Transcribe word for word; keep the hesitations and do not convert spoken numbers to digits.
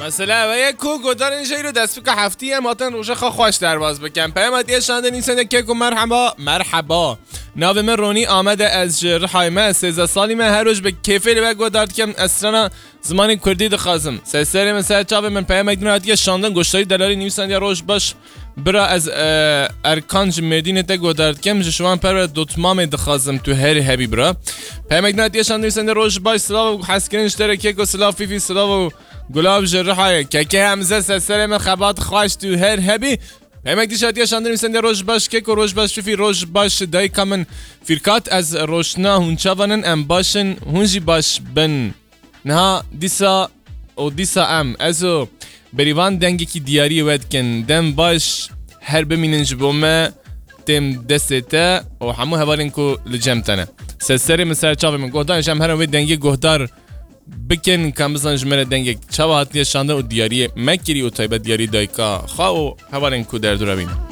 Mesela ve ye ku godarên jeyro destpika heftî em hatin roja xwe xweş derbas bikin. Peyama diye şandin însan de keko merhaba, merhaba. Navê min Ronî Amede, ez ji Rihayê me, sêzdeh salî me, her roj bi kêfê li we godar dikim, ez strana zimanê kurdî dixwazim. Ser serê min, ser çavê min, peyamek din hatiye şandin, goştarî delalî nivîsandiye roj baş. Bira ez, e, Erkan ji Mêrdînê te godar dikim, ji şivan perwer dotmamê dixwazim, tu her hebî bira. Peyamek din hatiye şandin, nivîsandiye roj baş, silav û hezkirin ji te re keko, silav Fîfî, silav û Gulav ji Rihayê. Keke Hemze, ser serê min, xebat xweş, tu her hebî. Pemek dîşa diye şandin, nivîsandiye roj baş keko, roj baş Fîfî, roj baş dayika min Fîrkat, ez roşna hûn çavan in, em baş in, hûn jî baş bin. Niha dîsa û dîsa em, ez û Berîvan dengekî diyariyê we dikin. Dem baş, her bimînin ji bo me, têm destê te û hemû hevalên ku li cem te ne. Ser serê min, ser çavê min, guhdarên ji em herin wê dengê guhdar bikin, ka em bizanin ji me re dengek çawa hatiye şandin û diyariyê me kirî û taybet diyarî dayika xwe û hevalên ku derdora wî ne.